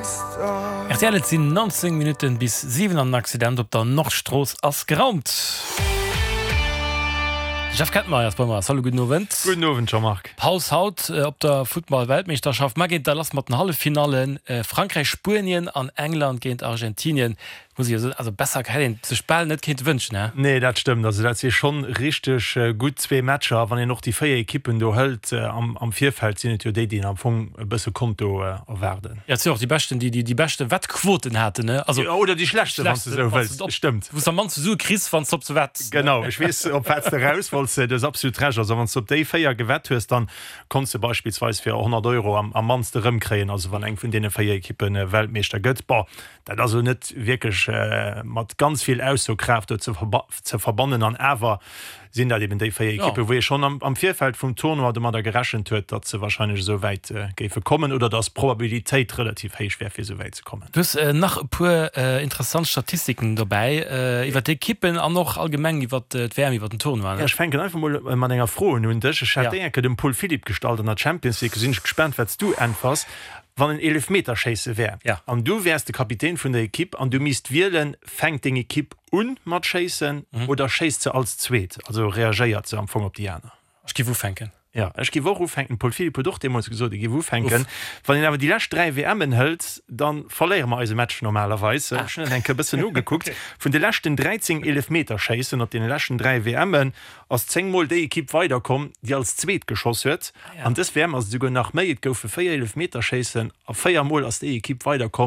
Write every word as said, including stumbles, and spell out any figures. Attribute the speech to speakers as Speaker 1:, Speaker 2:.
Speaker 1: R T L, et sinn neunzéng Minutten bis siwen an den Accident op der Nordstrooss ass geraumt. De Jeff Kettenmeyer ass bei mer. Salut, gudden Owend.
Speaker 2: Gudden Owend, Jean-Marc.
Speaker 1: Paus haut op der Futtball-Weltmeeschterschaft. Mar geet da lass mat den Halleffinallen, Frankräich, Spuenien an England géint Argentinien. Muss ech jo soen, also besser hätt een sech bal net kéinte wënschen, hä?
Speaker 2: Nee, dat stëmmt. Also dat si schonn richteg gutt zwee Matcher. A wann een och déi véier Ekippen do hëlt am am Virfeld, sinn et jo déi, déi een am Fong e bësse konnt do erwaarden.
Speaker 1: Jo, et sinn och déi beschten, déi déi beschte Wettquoten haten, ne?
Speaker 2: Also jo, oder déi schlechtste, wann s de esou wëlls. Stëmmt.
Speaker 1: Wou s de am mannste Sue kriss, wann s de op se wetts.
Speaker 2: Genau, ech weess, op wat s de eraus wollts. Du hues absolut Recht. Also wann s de op déi véier gewett hues, dann konns de beispillsweis fir honnert Euro am am mannste erëmkréien, also wann eng vun deene véier Ekippe Weltmeeschter gëtt. Bon, dat ass elo net wierklech mat ganz vill Aussokraaft do ze verbannen. An awer sinn dat eben déi véier Ekippen, wou ee schonn am Virfeld vum Tournoi domadder gerechent huet, datt se warscheinlech esou wäit géife kommen oder datt d'Probabilitéit relativ héich wär, fir esou wäit ze kommen.
Speaker 1: Du hues nach e puer interessant Statistiken dobäi iwwer d'Ekippen an och allgemeng iwwer d'W M, iwwer den Tournoi.
Speaker 2: Ech fänken einfach mol mat enger Fro un un dech. Ech hat déi eng Kéier dem Paul Philipp gestallt an der Champions League. Do sinn ech gespaant, wat s du äntwers. Wann en Eelefmeterschéisse wär an du wäers de Kapitän vun der Ekipp an du misst wielen, fänkt deng Ekipp un mat schéissen oder schéisst se als zweet, also reagéiert se am Fong op déi aner?
Speaker 1: Ech giff ufänken.
Speaker 2: Jo, ech giff och ufänken. Den Paul Philipp huet och deemools gesot, e giff ufänken. Wann een awer déi lescht dräi W M'en hëlt, da verléiere mer eise Match normalerweis. Ech hunn dat eng Kéier e bëssen nogekuckt. Vun de leschten dräizéng Eelefmeterschéissen op deene leschten dräi W M'en ass zéng Mol déi Ekipp weiderkomm, déi als zweet geschoss huet. An dës W M ass et esouguer nach méi, et goufe véier Eelefmeterschéissen a véier Mol ass déi Ekipp weiderkomm,